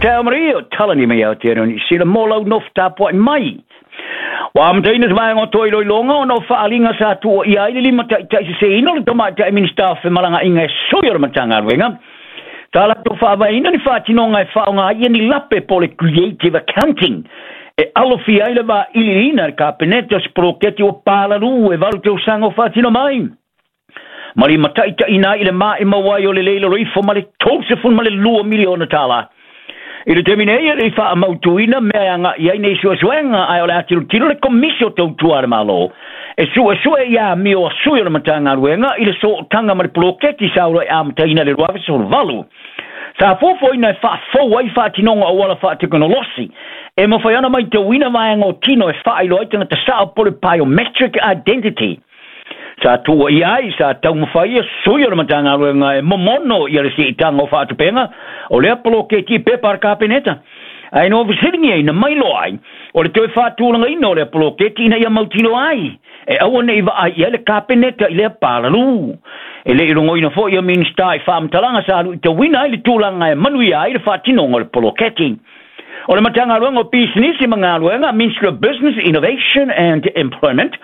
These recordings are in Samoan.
Tau Maria, talani mai Aotearoa Niu Sila mo lau nofo tapuai mai. Ua amataina se vaega o toe iloiloga ona o faaaliga sa tuuaia ai le limataitaiseseina o le Tamaitai Minisita o Femalagaaiga e sui o le Matagaluega sa latou faavaeina ni faatinoga e faaaoga ai ni lape po o le creative accounting e alofia ai le vailiiliina e le Kapeneta o se poloketi ua palalū e 8 tausaga o faatino mai ma limataitaiina ai i le maʻimau ai o le le i lalo ifo ma le $32 miliona tala. I le taimi nei e le i faamautuina mea e agai ai nei suesuega, ae o le a tilotilo le Komisi o Tautua a le Malo e suesue i amio a sui o le Matagaluega i le sootaga ma le poloketi sa uluai amataina i le 2018. Sa fuafuaina e faafou ai faatinoga o auala faatekonolosi e mafai ona maitauina vaega o tino e faailoa ai tagata sao po o le biometric identity. Sa tuuaia ai, sa taumafai ia sui o le Matagaluega e momono ia le siitaga o faatupega o lea poloketi i pepa a le Kapeneta. Ae na fesiligiaina mai loa ai o le toe faatulagaina o lea poloketi ina ia mautinoa ai e aua ne i vaai i ai le Kapeneta i lea palalū. E le i logoina foi ia Minisita i faamatalaga sa luitauina ai le tulaga e manuia ai le faatinoga o le poloketi. O le Matagaluega o Pisinisi ma Galuega, Ministry of Business, Innovation and Employment,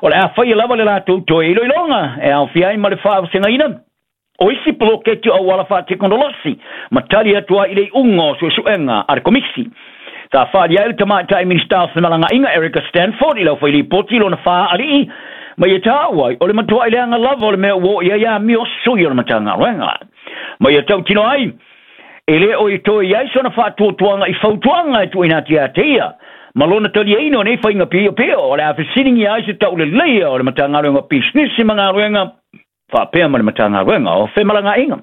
o le a faia lava le latou toe iloiloga e aofia ai ma le faavasegaina o isi poloketi o auala faatekonolosi ma tali atu ai i le iuga o suesuega a le Komisi. Sa faaalia ai le Tamaitai Minisita o Femalagaaiga Erica Stanford i le aufailipoti lona fāalii ma ia taua ai o le matuai leaga lava o le mea ua oo i ai amio sui o le Matagaluega. Ma ia tautino ai, e le o i toe i ai sona faatuatuaga i fautuaga e tuuina atu ia te ia, ma lona taliaina o nei faiga piopio, o le a fesiligia ai se tauleleia o le Matagaluega o Pisinisi ma Galuega faapea ma le Matagaluega o Femalagaaiga.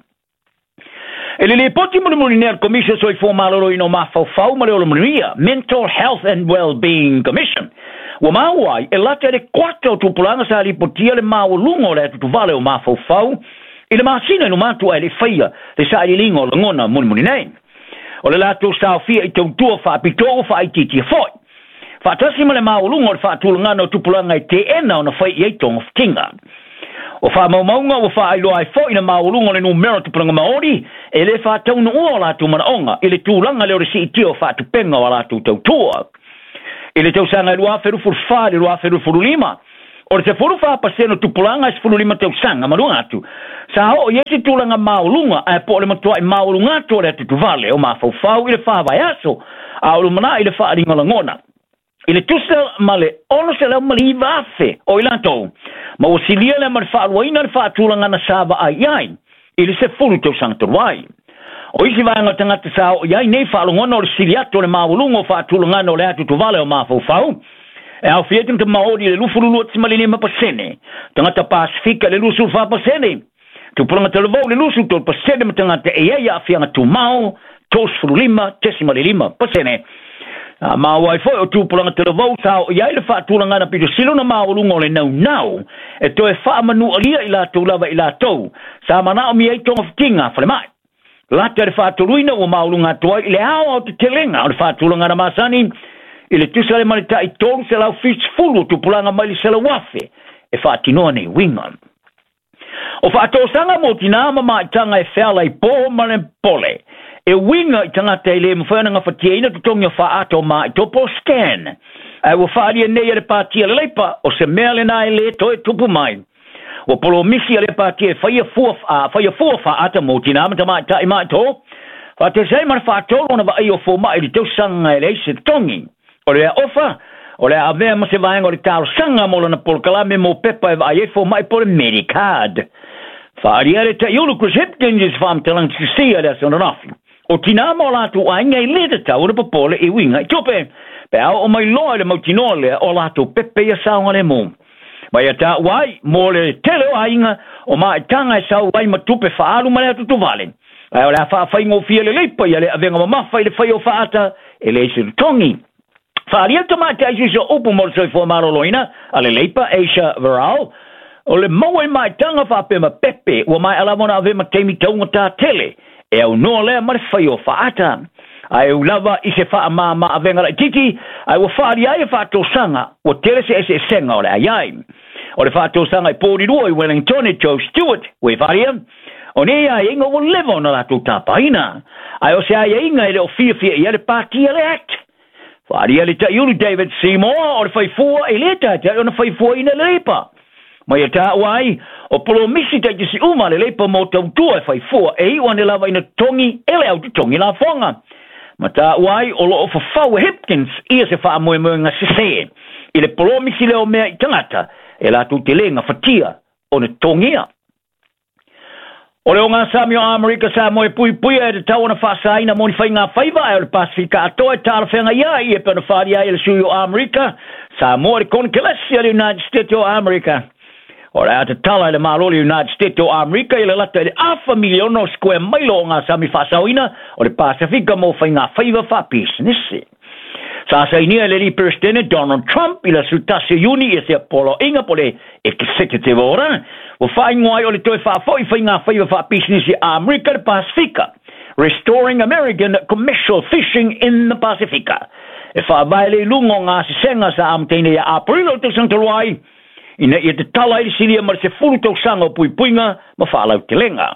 E le lipoti mulimuli nei a le Komisi o Soifua Maloloina o Mafaufau ma le Ola Manuia, Mental Health and Wellbeing Commission, ua maua ai e lata i le kuata o tupulaga sa lipotia le maualuga o le atutuvale o mafaufau i le masina i luma atu ae le i faia le sailiiliga o lagona mulimuli nei. O le latou saofia i tautua faapitoa ua faaitiitia foi, faatasi ma le maualuga o le faatulagaga o tupulaga e teena ona fai i ai togafitiga. O faamaumauga ua faailoa ai foi le maualuga o le numera o tupulaga Maori e le faataunuua o latou manaoga i le tulaga lea o le siitia o faatupenga o a latou tautua. I le tausaga e 2024 i le 2025, o le 14% o tupulaga e 15 tausaga ma luga atu, sa oo i ai se tulaga maualuga ae po o le matuai maualuga atu o le atutuvale o mafaufau i le fa vaiaso a o lumanai i le faaaliga lagona i le tusa ma le 609,000 o i latou, ma ua silia lea ma le faaluaina le faatulagana sa vaai i ai i le 10 tausaga talu ai. O isi vaega o tagata sa oo i ai nei faalogona o le sili atu o le maualuga o faatulagana o le atutuvale o mafaufau, e aofia ai tagata Maori i le 22.5%, tagata Pasifika i le 24%, tupulaga talavou i le 23% ma tagata e i ai aafiaga tumau 35.5%. A maua ai foi o tupulaga talavou sa oo i ai le faatulagana pito sili ona maualuga o le naunau e toe faamanualia i latou lava i latou sa manaomia ai togafitiga a falemai. Lata i le faatoluina ua maualuga atu ai i le aoaotetelega o le faatulagana masani i le tusa ai ma le tai 370 o tupulaga mai le 100,000 e faatinoa nei uiga. O faatosaga mo tinā ma maitaga e feala i pō ma le pole, e uiga i tagata e le mafai ona gafatiaina totogi o faaata o maaitopo, scan, ae ua faaalia nei e le Pāti a le Leipa o se mea lena e le toe tupu mai. Ua polomisi a lea pāti e faia fua, a faia fua faaata mo tinā ma tamaitai maaito, faatasi ai ma le faatolu ona vaai o fomai i le tausaga e leai se totogi. O le ofa, o le a avea ma se vaega o le talosaga mo lana polokalame mo pepa e vaai ai fomai po o le Medicard. Faaalia le taiulu Chris Hipkins i se faamatalaga tusia i le aso ananafi. O tinā ma o latou aiga e le tatau ona popole i uiga i tupe, pe a oo mai loa i le mautinoa lea o latou pepe ia saogalemu. Ma ia taua ai, mo le tele o aiga, o maitaga e sau ai ma tupe faaalu ma le atutuvale. Ae o le a faafaigofie lelei paia le avega mamafa i le fai o faata e leai se totogi. Faaalia le tamaitai sui o upu mo le soifua maloloina a le Leipa Asia Viral, o le maua i maitaga faapea ma pepe ua maea lava ona ave ma taimi taugatā tele e aunoa lea ma le fai o faata. Ae ui lava i se faamāmā avega laitiiti, ae ua faaalia ai e faatosaga ua tele se eseesega o le ai ai. O le faatosaga i Porirua i Wellington e Joe Stewart, ua e faaalia, o nei aiaiga ua leva ona latou tapaina. Ae o se aiaiga e le o fiafia i ai le patia le Act. Faaalia le Taiulu David Seymour o le faifua e lē taitai ona faifuaina le Leipa. Ma ia taua ai, o polomisi taitasi uma a le Leipa mo tautua e faifua e iu ane lava ina totogi e le au totogi lafoga. Ma taua ai o lo o fafau e Hipkins ia se faamoemoega sesē i le polomisi lea o mea i tagata e latou te lē gafatia ona totogia. O le ogasami o Amerika Samoa e puipuia e tatau ona faasaina mo ni faigafaiva ae o le Pasefika atoa e talafeagai ai e pei ona faaalia ai e le sui o Amerika Samoa i le Konekelesi a le United States o Amerika. O le a tatala e le Malo o le United States o Amerika i le lata i le afa miliona o square maila o ogasami faasaoina o le Pasefika mo faigafaiva faapisinisi. Sa sainia e le alii Peresetene Donald Trump i le aso 1 o Iuni ia se poloaiga po o le Executive Order ua faaigoa ai o le toe faafoi faigafaiva faapisinisi a Amerika i le Pasefika, Restoring American Commercial Fishing in the Pasifika. E faavae le iluga o gasesega sa amataina ia Aperila o le tausaga talu ai, ina ia tatala ai le silia ma le 10 tausaga o puipuiga ma faalautelega.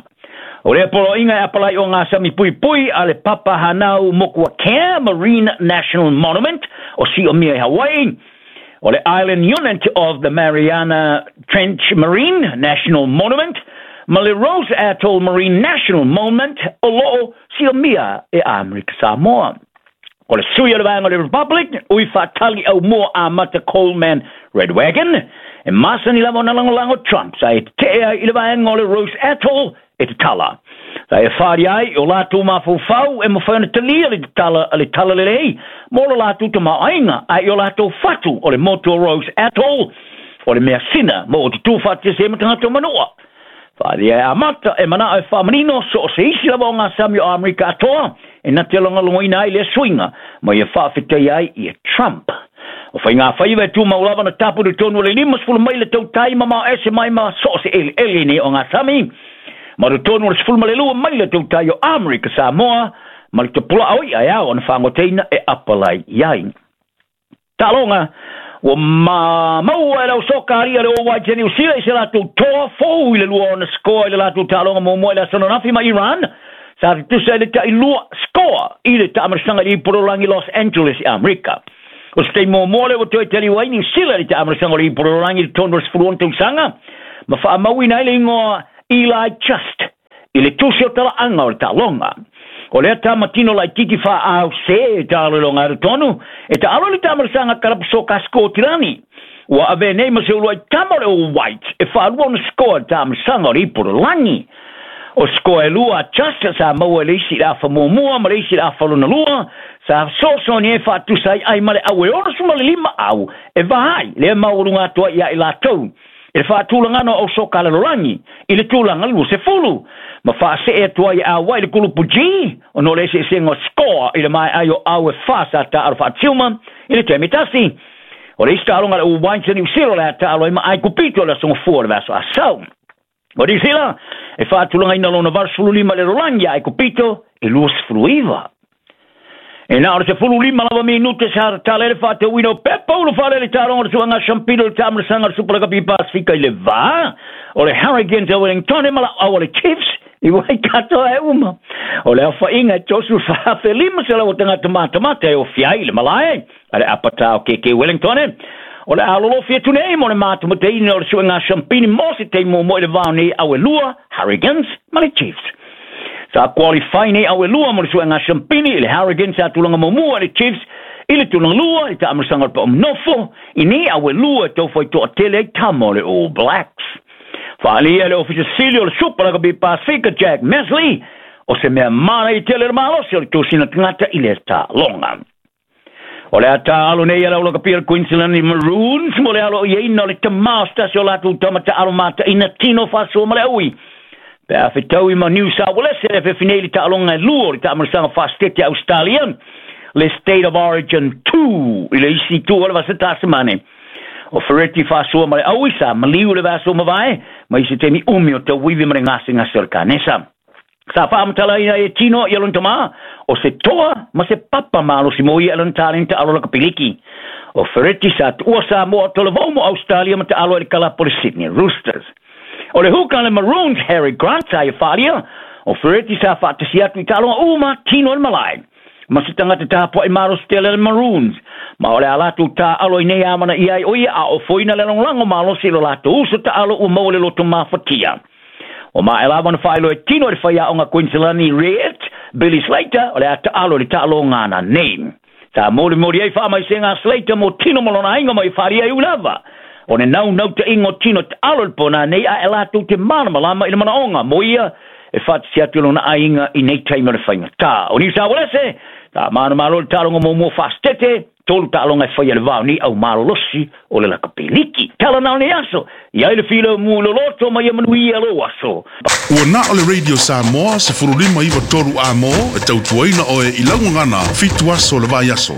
O lea poloaiga e apalai o gasami puipui a le Papa Hanau Mokuakea Marine National Monument o Siomia i Hawaii, o le Island Unit of the Mariana Trench Marine National Monument, ma le Rose Atoll Marine National Monument o lo o siomia e Amerika Samoa. O le sui o le vaega o le Republic, ui faatali aumua amata Coleman Redwagon, e masani lava ona lagolago Trump sa e tetee ai i le vaega o le Rose Atoll e tatala. Sa e whaari ai o lātou mafaufau e mawhai ona talia le tatala a le talalelei mo lo lātou tamaoaiga ae i o lātou fatu o le motu o Rose Atoll o le measina mo o te tū whaatese ma tagata o Manua. Whaaria e amata e manao e whaamanino so o se isi lava o ngā sami o Amerika atoa e na te longolongoina ai lea suiga ma ia faafetai ai ia Trump. O faigafaiva e tumau lava na tapu i totonu o le 50 maila tautai mamao ese mai ma so o se eleele nei o ngā sami, ma totonu o le 12 maila tautai o Amerika Samoa ma le tapulaa o i'a e ao ona fagoteina e apalai i ai. Taaloga, ua maua e le au soka alia le All Whites ia Niu Sila i se latou toa fou i le lua ona skoa i le latou taaloga muamua i le aso ananafi ma Iran, sa tutusa i le tailua skoa i le taamalosaga i le Ipololagi Los Angeles i Amerika. O se taimi muamua lea ua toe taliu ai Niu Sila i le taamalosaga o le Ipololagi i totonu o le 16 tausaga, ma faamauina ai le igoa Eli Just i le tusi o talaaga o le taaloga. O lea tamatino laititi faaau se e taalologa alu tonu, e taalo i le taamalosaga kalapu soka Skotilani. Ua avea nei ma se uluai tama o le All Whites e faalua ona skoa i le taamalosaga o le Ipololagi. O skoa e lua a Just sa maua e le isi i le afa muamua ma le isi i le afa lona lua, sa fesoasoani ai e faatusa ai ai ma le au e 65 au e va ai lea maualuga atu ai ia i latou i le faatulagana o soka lalolagi i le tulaga 20 ma faasee atu ai e auai le kulupu G ona o le eseesega o skoa i le maeai o au e fa sa taalo faatiuma i le taimi tasi. O le isi taaloga a le All Whites a Niu Sila o le a taalo ai ma Aikupito i le aso Gafua o le vaiaso asau. O Niu Sila e faatulagaina lona 85 i le lalolagi ia Aikupito e 29. E na o le 15 lava minute sa tatala ai le faatauina o pepa ulufale i le taaloga o le suaga Shampino i le taamalasaga o le Super Rugby Pasifika i le va o le Hurricanes a Wellington ma lauau a le Chiefs i Waikato e uma. O le aofaiga e 34,500 o tagata matamata e ofia ai i le malae a le apatā o KK Wellington. O le a lolofi atu nei mo le matamateina o le suega Shampini mo se taimi muamua i le vao nei au e lua, Hurricanes ma le Chiefs. Sa qualify nei au e lua mo le suega Shampini i le Hurricanes sa tulaga muamua i le Chiefs i le tulaga lua i le taamalosaga o le Paomanofo i nei au e lua e tau whai toatele ai tama o le All Blacks. Faaalia e le Ofisa Sili o le Super Rugby Pasifika Jack Mesley o se mea manaia tele le malosi o le tosina tagata i le taaloga. O le a taalo nei a le aulakapia le Queensland i Maroons mo le alo iaina o le tamā o se tasi o latou tama taalo mataina tino faasoa ma le aui. Pe a fetaui ma New South Wales e fefi nei le taaloga e lua o le taamalosaga faasetete a Australia, le State of Origin 2 i le isi itu o le vasa Tasimane. O Ferretti faasoa ma le aui sa maliu le vaiaso mavae ma i se taimi umi o tauivi ma le gasegase o le kanesa. Sa faamatalaina ai e Tino ia lona tamā, o se toa ma se papa malosi mo ia i lona talenta alo lakapiliki. O Ferretti sa tuua Samoa o Tolavou mo Australia ma taalo ai le kalapu o le Sydney Roosters. O le hooker a le Maroons Harry Grant sa ia faaalia, O Ferretti sa faatasi atu i taaloga uma tino o le malae ma se tagata tapua'i malosi tele le Maroons, ma o le a latou tā'alo i nei amanaia ai o ia a ofoina le lagolago malosi i lo latou uso taalo ua maua le loto mafatia. O maea lava ona faailoa e tino i le faiaoga Kuiniselani Red Billy Slater o le a taalo i le taaloga nei. Sa molimoli ai faamaisega a Slater mo tino ma lona aiga ma i faaalia ai ui lava o le naunautaiga o tino taalo i le pona nei, a e latou te malamalama i le manaoga mo ia e faatasi atu i lona aiga i nei taimi o le faigatā. O Niu Uelese sa manumalo i le taaloga muamua faasitete, 3 taaloga e faia le vao nei au malolosi o le lakapeliki. Tala na o nei aso i ai le filemu loloto ma ia manuia lou aso. Ua na o le Radio Samoa 15 9 3 amo e tautuaina oe i laugagana 7 aso le vai aso.